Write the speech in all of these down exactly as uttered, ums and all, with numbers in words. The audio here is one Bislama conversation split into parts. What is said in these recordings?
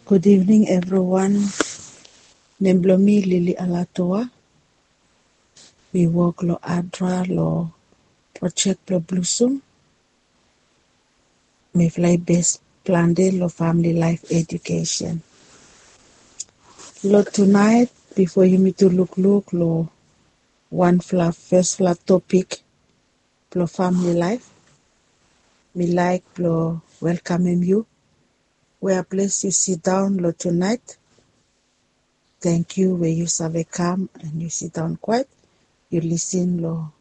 Good evening, everyone. Nem blong mi Lily Alatoa. Mi wok long ADRA long projek blong Blusum. Mifala i bes plante long famili laef edukesen. Long tunaet, bifo yumitu lukluk long wanfala fesfala topik blong famili laef, mi laek blong welkamem yu wea ples yu sidaon long tunaet. Tangkiu we yu save kam and yu sidaon kwaet, yu lisin long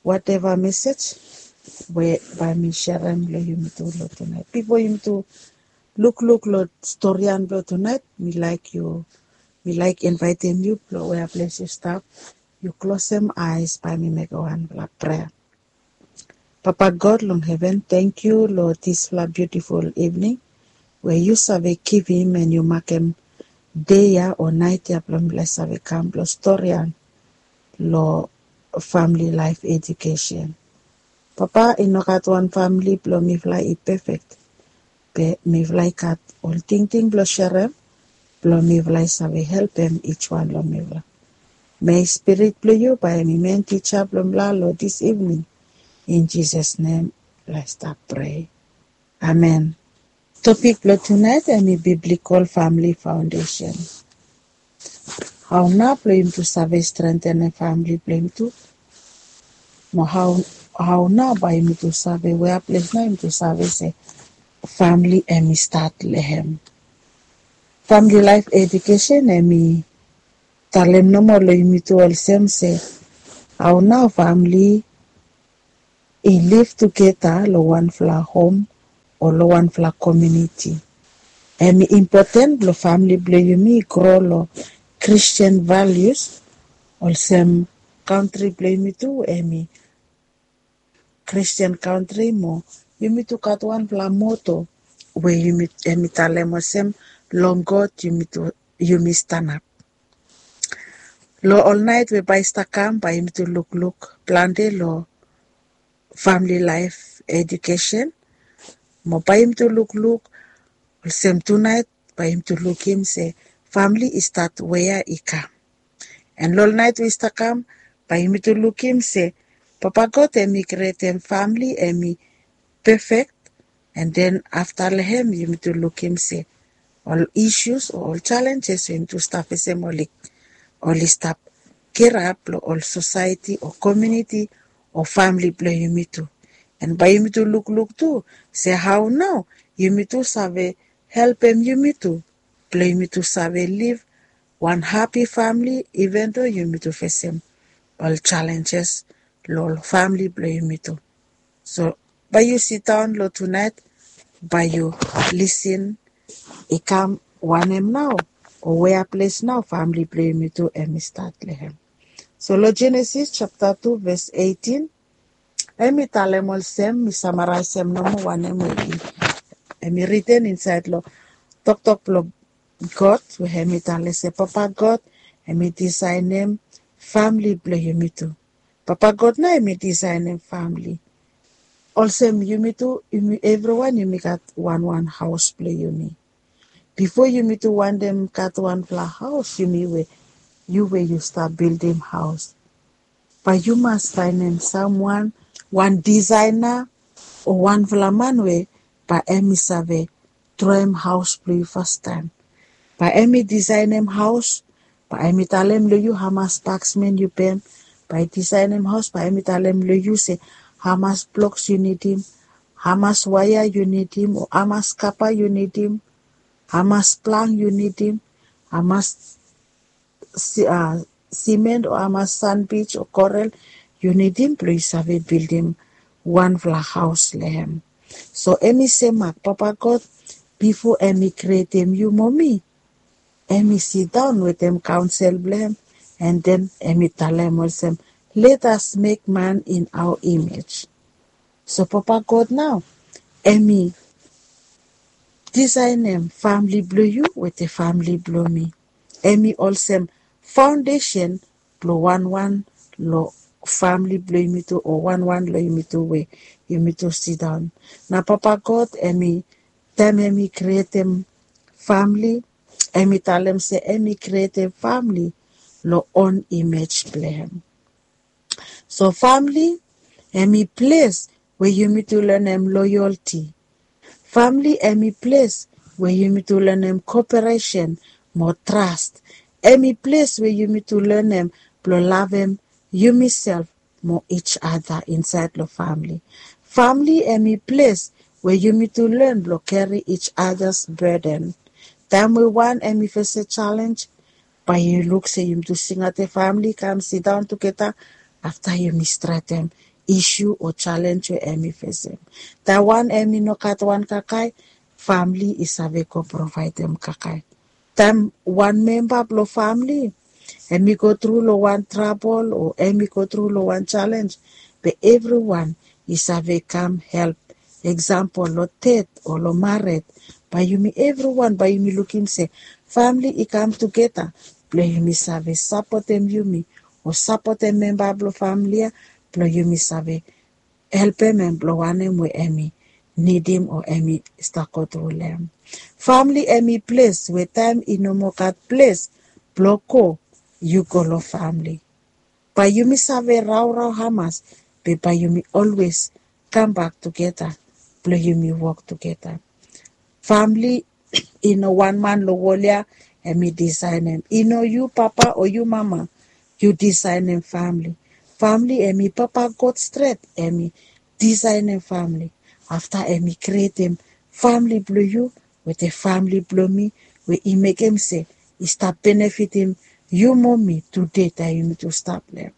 wateva mesej we bae mi serem long yumitu long tunaet. Bifo yumitu lukluk long storian blong tunaet, mi laek yu, mi laek invaetem yu blong wea ples yu stap, yu klosem aes, bae mi mekem wanfala prea. Papa God long heven, tangkiu long disfala biutiful ivning we yu save givim and yu makem dei ya o naet ya blong mifala i save kam blong storian long famili laef edukesen. Papa, i no gat wan famili blong mifala i pefek, be mifala i gat ol tingting blong serem blong mifala i save helpem ijwan long mifala. Mei Spirit blong yu bae hem i men tija blong mifala long dis ivning. In Jisas nem mifala i stap prea. Amen. Topik blong tunaet hem i biblikol famili faondesen. Hao nao blong yumitu save strentenem famili blong yumitu? Mo hao, hao nao bae yumitu save, wea ples nao yumitu save se famili hem i stat long hem? Famili laef edukesen hem i talem nomo long yumitu olsem se hao nao famili i liv tugeta long wanfala hom o long wanfala komuniti. Hem i impoten blong famili blong yumi i gro long Kristin valius, olsem kantri blong yumitu hem i Kristin kantri mo yumitu gat wanfala moto we yumi, hem i talem olsem, long God yumitu, yumi stanap. Long ol naet we bae i stap kam, bae yumitu lukluk plante long famili laef edukesen. Mo bae yumitu lukluk olsem tunaet, bae yumitu lukim se famili i stat wea i kam. And long ol naet we i stap kam, bae yumitu lukim se Papa God hem i krietem famili hem i pefek. And then afta long hem yumitu lukim se ol isus o ol jalenjes we yumitu stap fesem oli, oli stap kirap long ol sosaeti o komuniti o famili blong yumitu. And bae yumitu lukluk tu se hao nao yumitu save helpem yumitu blong yumitu save liv wan hapi famili, iven do yumitu fesem ol jalenjes long ol famili blong yumitu. So bae yu sidaon long tunaet, bae yu lisin i kam wanem nao, o wea ples nao famili blong yumitu hem i stat long hem. So long Jenesis japta tu ves eitin, hem i talem olsem, mi samaraesem nomo wanem we hem i riten insaed long toktok blong God, we hem i talem se Papa God hem i disaenem famili blong yumitu. Papa God nao hem i disaenem famili. Olsem yumitu, yumi evriwan yumi gat wanwan haos blong yumi. Bifo yumitu wantem gat wanfala haos, yumi we, yu we yu stap bildim haos, bae yu mas faenem samwan, wan disaena o wanfala man we bae hem i save droem haos blong yu fastaem. Bae hem i disaenem haos, bae hem i talem long yu hamas baksmen yu bem. Bae i disaenem haos, bae hem i talem long yu se hamas bloks yu nidim, hamas waea yu nidim, o hamas kapa yu nidim, hamas planga yu nidim, hamas si-, a, simen o hamas sanbij o korel yu nidim blong yu save bildim wanfala haos long hem. So hem i semak Papa God, bifo hem i krietem yu mo mi, hem i sidaon wetem kaonsel blong hem, and then hem i talem olsem, "Let us make man in our image." So Papa God nao hem i disaenem famili blong yu wetem famili blong mi. Hem i olsem faondesen blong wanwan long famili blong yumitu o wanwan long yumitu we yumitu sidaon. Na Papa God hem i, taem hem i krietem Famili, em i talem se em i krietem famili long on imej blong em. So famili em i ples we yumi tu lenem loyalti. Famili em i ples we yumi tu lenem koperesen mo tras. Em i ples we yumi tu lenem blong lavem yumiself mo each other insaed long famili. Famili em i ples we yumi tu len blong keri each other's burden. Taem we wan em i fese jalenj, bae yu luk se yumi tu singaotem famili kam sidaon tugeta afta yumi stretem isu o jalenj we em i fesem. Taem wan em i no gat wan kakae, famili i save go provaedem kakae. Taem wan memba blong famili em i go tru long wan trabol o em i go tru long wan jalenj, be evriwan i save kam help. Eksampol, long ded o long mared, bae yumi evriwan bae yumi lukim se famili i kam tugeta blong yumi save sapotem yumi o sapotem memba blong famili ya blong yumi save helpem em blong wanem we em i nidim o em i stap go tru long em. Famili em i ples we taem i no moa gat ples blong go, yu go long famili. Bae yumi save raorao hamas, be bae yumi olwes kambak tugeta blong yumi wok tugeta. Famili i no wan man long wol ya em i disaenem. I no yu papa o yu mama yu disaenem famili. Famili em i Papa God stret em i disaenem famili. Afta em i krietem famili blong yu wetem famili blong mi, we i mekem se i stap benefitim yu mo mi tude taem yumi tu stap long em.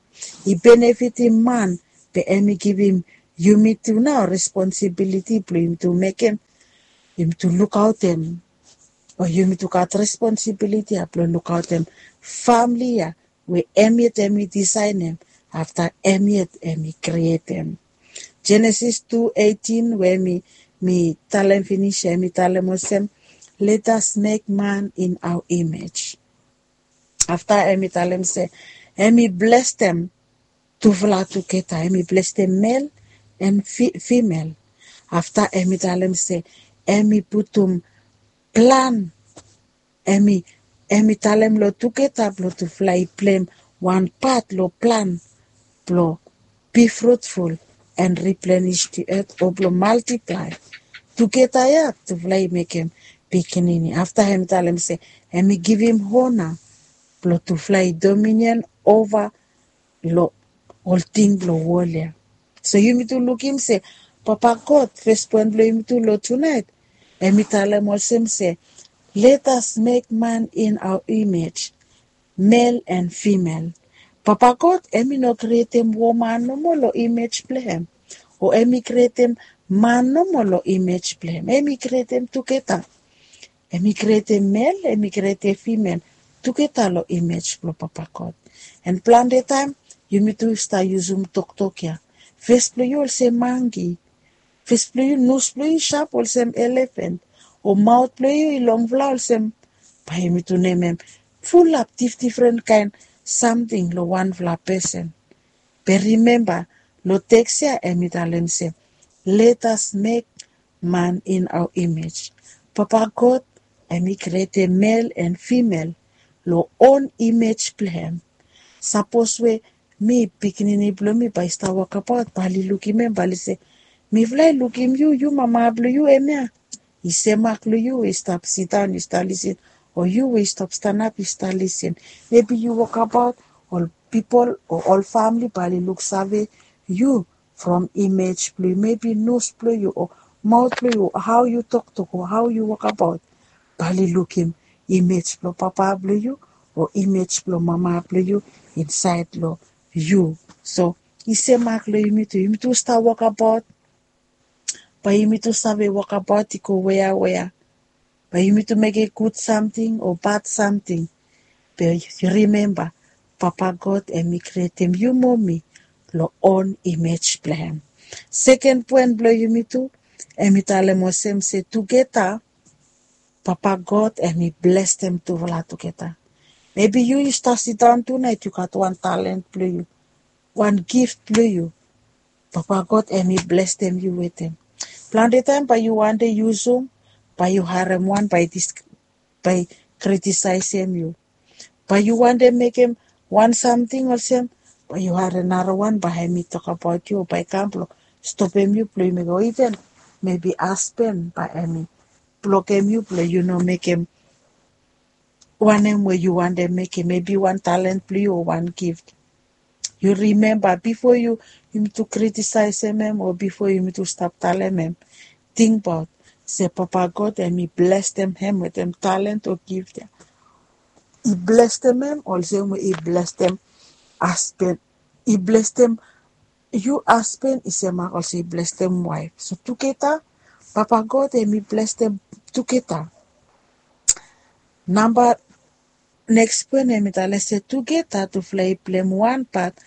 I benefitim man, be em i givim yumi tu nao responsibiliti blong yumi tu mekem, yumi tu lukaotem, o yumi tu gat responsibiliti ya blong lukaotem famili ya we em yet em i disaenem, afta em yet em i krietem. Jenesis tu eighteen we mi, mi talem finis ya, em i talem olsem, "Let us make man in our image." Afta em i talem se em i blestem tufala tugeta, em i blestem mel en fi-, fimel. Afta em i talem se em i putum plan, em i, em i talem long tugeta blong tufala i pleim wan pat long plan blong be fruitful and replenish the earth o blong multiply. Tugeta ya tufala i mekem pikinini. Afta em i talem se em i givim ona blong tufala i dominion ova long ol ting blong wol ya. So yumi tu lukim se Papa God, fes poen blong yumi tu long tunaet, em i talem olsem se, "Let us make man in our image, male and female." Papa God em i no krietem woman nomo long imej blong em, o em i krietem man nomo long imej blong em. Em i krietem tugeta. Em i krietem mel, em i krietem fimel tugeta long imej blong Papa God. An plante taem yumi tu stap yusum toktok ya. Fes blong yu olsem mangi, fes blong yu, nos blong yu i sap olsem elefen, o maot blong yu i longfala olsem, bae yumi tu nemem fulap dif-, difren kaen samting long wanfala pesen. Be rimemba, long teks ya em i talem se, "Let us make man in our image." Papa God em i krietem mel en fimel long on imej blong em. Sapos we mi, pikinini blong mi bae i stap wokabaot, bae oli lukim em, bae oli se, "Mifala i lukim yu, yu mama blong yu hemia, i semak long yu we i stap sidaon i stap lisin, o yu we i stap stanap i stap lisin." Mebi yu wokabaot, ol pipol o ol famili bae oli luksave yu from imej blong yu, mebi nos blong yu o maot blong yu o hao yu toktok o hao yu wokabaot, bae oli lukim imej blong papa blong yu o imej blong mama blong yu insaed long yu. So i semak long yumi tu, yumi tu stap wokabaot, bae yumi tu save wokabaot i go weawea. Bae yumi tu mekem gud samting o bad samting. Be rimemba, Papa God em i krietem yu mo mi long on imej blong em. Seken poen blong yumi tu, em i talem olsem se tugeta, Papa God em i blesem tufala tugeta. Mebi yu i stap sidaon tunaet, yu gat wan talent blong yu, wan gift blong yu. Papa God em i blesem yu wetem. Plante taem bae yu wante yusum, bae yu harem wan, bae dis-, bae i kritisaesem yu. Bae yu wantem mekem wan samting olsem, bae yu harem narawan bae hemi tokbaot yu o bae i kam blong stopem yu blong yu mekem, o iven mebi hasben bae hemi blokem yu blong yu no mekem wanem we yu wantem mekem, mebi wan talent blong yu o wan gift. Yu rimemba bifo yu, yumitu kritisaesem hem o bifo yumitu stap talem hem, tingbaot se Papa God hemi blesem hem wetem talent o gift ya. I blesem hem olsem we i blesem hasben. I blesem yu hasben i semak olsem i blesem waef. So tugeta, Papa God hemi blesem tugeta. Namba neks poen hemi talem se tugeta tufala i plem wan pat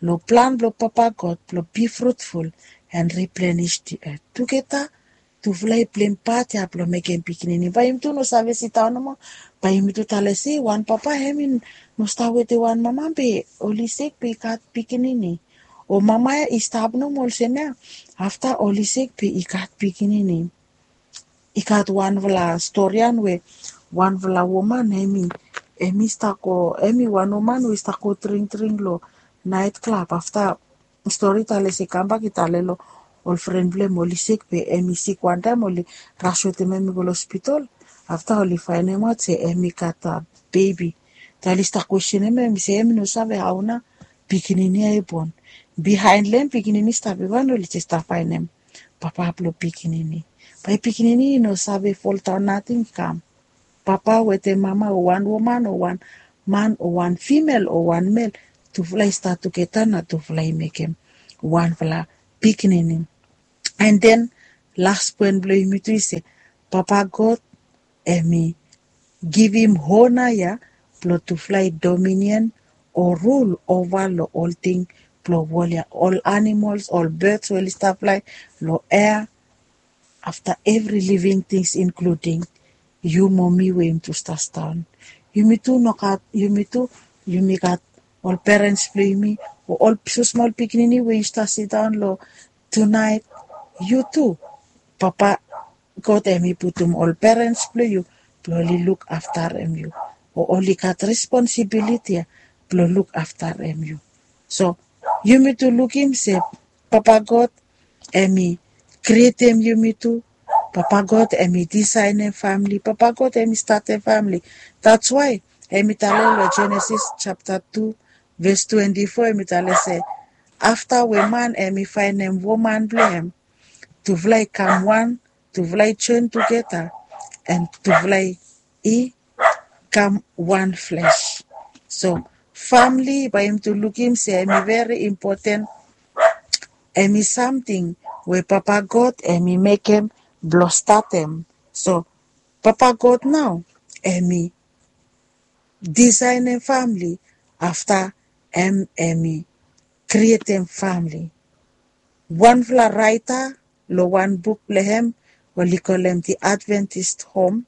long plan blong Papa God blong be fruitful and replenish the earth. Tugeta tufala i plem pat ya blong mekem pikinini. Bae yumitu no save sidaon nomo, bae yumitu talem se wan papa hemi no stap wetem wan mama be oli sik be i gat pikinini. O mama ya i stap nomo olsem ya, afta oli sik be i gat pikinini. I gat wanfala storian we wanfala woman hemi, hemi stap go, hemi wan woman we i stap go dringdring long naet klab. Afta stori talem se i kambak i talem long ol fren blong hem oli sik be hemi sik wantaem oli ras wetem hem i go long hospital. Afta oli faenemaot se hemi gat bebi. Afta oli stap kwestenem hem se hemi no save hao nao pikinini ya i bon. Bihaen long hem pikinini stap i wan oli jes stap faenem papa blong pikinini. Bae pikinini i no save foldaon nating i kam. Papa wetem mama o wan woman o wan man o wan fimel o wan mel, tufala i stat tugeta na tufala i mekem wanfala pikinini. And then las poen blong yumitu i se Papa God hemi givim hona ya blong tufala i dominion o rul ova long ol ting blong wol ya, ol animols, ol beds we oli stap flae long ea, afta evri living tings inkluding yu mo mi we yumitu stap sidaon. Yumitu nogat, yumitu yumi gat ol perens blong yumi o ol so smol pikinini we yu stap sidaon long tunaet, yu tu Papa God hemi putum ol perens blong yu blong oli luk aftarem yu o oli gat responsibiliti ya blong luk aftarem yu. So yumitu lukim se Papa God hemi krietem yumitu. Papa God hemi disaenem famili. Papa God hemi statem famili. That's why hemi talem long Jenesis japta tu ves twenti fo, hemi talem se afta we man hemi faenem woman blong hem, tufala i kam wan, tufala i joen tugeta, and tufala i kam wan fles. So famili bae yumitu lukim se hemi veri impoten, hemi samting we Papa God hemi mekem blong statem. So Papa God nao hemi disaenem famili afta hem hemi krietem famili. Wanfala raeta long wan buk blong hem oli kolem The Adventist Home,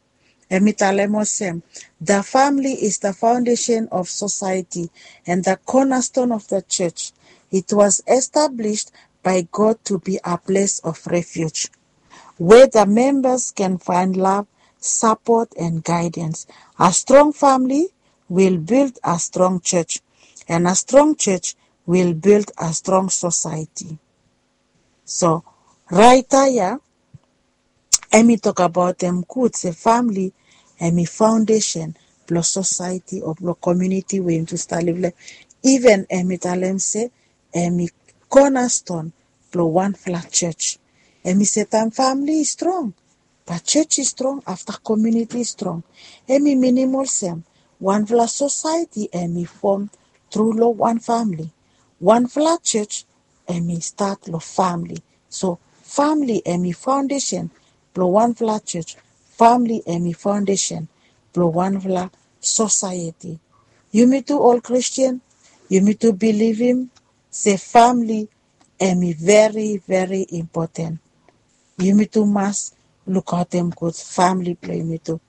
hemi talem olsem, the family is the foundation of society and the cornerstone of the church. It was established by God to be a place of refuge where the members can find love, support, and guidance. A strong family will build a strong church, and a strong church will build a strong society. So raeta ya hemi tokbaot hem gud se famili hemi faondesen blong sosaeti o blong komuniti we yumitu stap liv long hem. Iven hemi talem se hemi konaston blong wanfala jos. Hemi se taem famili i strong, bae jos i strong, afta komuniti i strong. Hemi minim olsem wanfala sosaeti hemi fom tru long wan famili. Wanfala jos hemi stat long famili. So famili hemi faondesen blong wanfala jos. Famili hemi faondesen blong wanfala sosaeti. Yumitu ol Kristin, yumitu bilivim se famili hemi veri veri impoten. Yumitu mas lukaotem gud famili blong yumitu.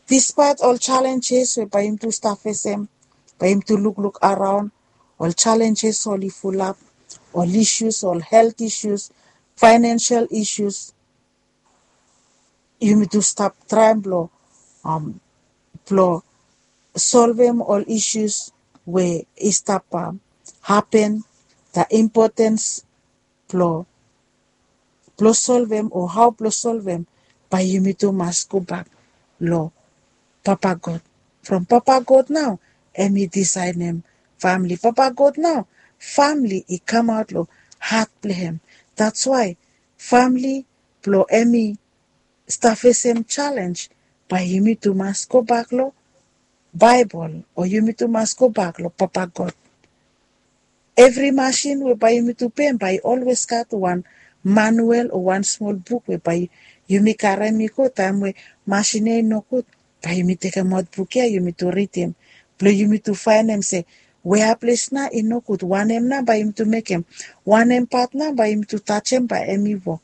Dispaet ol jalenjes we bae yumitu stap fesem, bae yumitu lukluk araon, ol jalenjes oli fulap, ol isius, ol helt isius, faenensel isius, yumitu stap traem blong, am, blong solvem ol isus we i stap hapen, the importance blong blong solvem o hao blong solvem, bae yumi tu mas gobak long Papa God. From Papa God nao em i disaenem famili. Papa God nao famili i kamaot long hat blong hem. That's why famili blong em i stap fesem jalenj, bae yumi tu mas gobak long Baebol o yumi tu mas gobak long Papa God. Evri masin we bae yumi tu pem bae i olwes gat wan manuel o wan smol buk we bae yumi karem i go taem we masin ya i nogud. Bae yumi tekemaot buk ya yumi tu ridim blong yumi tu faenem se wea ples nao i nogud, wanem nao bae yumi tu mekem, wanem pat nao bae yumi tu tajem bae em i wok.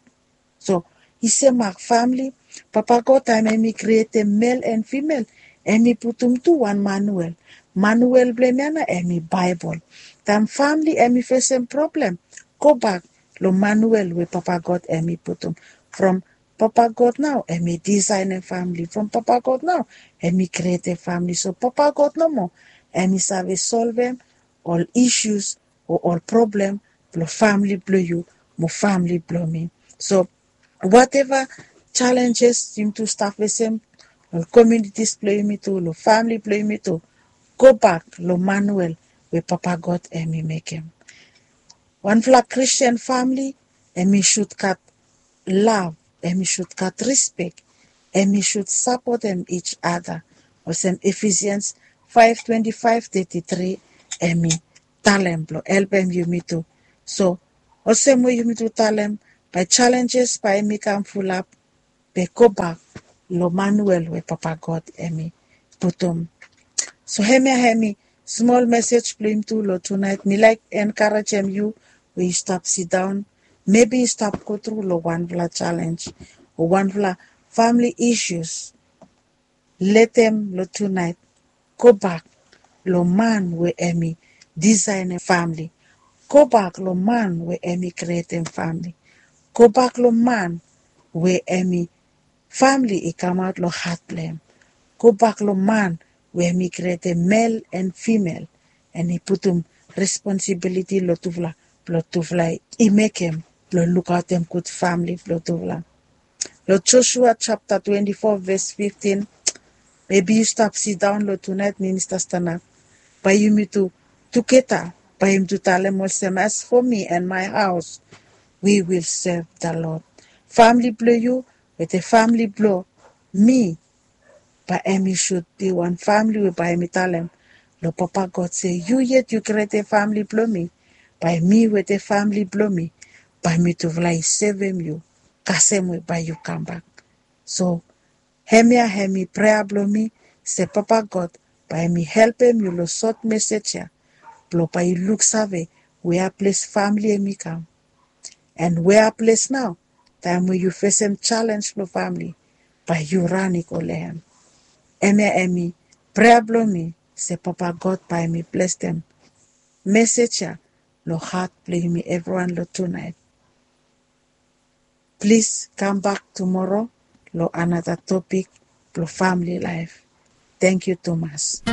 So i se mak famili, Papa God taem em i krietem mel en fimel, em i putum tu wan manuel. Manuel blong hem ya nao em i Baebol. Taem famili em i fesem problem, gobak long manuel we Papa God em i putum. From Papa God nao em i disaenem famili. From Papa God nao em i krietem famili. So Papa God nomo em i save solvem ol isus o ol problem blong famili blong yu mo famili blong mi. So wateva jalenjes yumi tu stap fesem long komunitis blong yumi tu, long famili blong yumi tu, gobak long manuel we Papa God em i mekem. Wanfala Kristian famili em i sud gat lav, em i sud gat rispek, em i sud sapotem each other. Olsem Efisians faef twenti faef teti tri em i talem blong helpem yumi tu. So olsem we yumi tu talem, bae jalenjes bae em i kam fulap, be gobak long manuel we Papa God em i putum. So hemia em i smol mesej blong yumi tu long tunaet. Mi laek enkarejem yu we yu stap sidaon, mebi yu stap gotru long wanfala jalenj o wanfala famili isus. Letem long tunaet gobak long man we em i disaenem famili. Gobak long man we em i krietem famili. Gobak long man we em i famili i kamaot long hat blong hem. Gobak long man we em i krietem mel en fimel, en i putum responsibiliti long tufala blong tufala i mekem blong lukaotem gud famili blong tufala. Long Josua japta twenti fo ves fiftin, mebi yu stap sidaon long tunaet, minista stanap, bae yumi tu tugeta bae yumi tu talem olsem, as for me and my house, we will serve the Lord. Famili blong yu wetem famili blong mi, bae em i sud bi wan famili we bae em i talem long Papa God se, yu yet yu krietem famili blong mi, bae mi wetem famili blong mi, bae mitufala i sevem yu kasem we bae yu kambak. So hemia em i prea blong mi se Papa God bae em i helpem yu long sot mesej ya blong bae yu luksave wea ples famili em i kam. En wea ples nao taem we yu fesem jalenj blong famili, bae yu ran i go long hem. Hemia em i prea blong mi se Papa God bae em i blesem mesej ya long hat blong yumi evriwan long tunaet. Plis kambak tumoro long anata topik blong famili laef. Tangkiu tumas.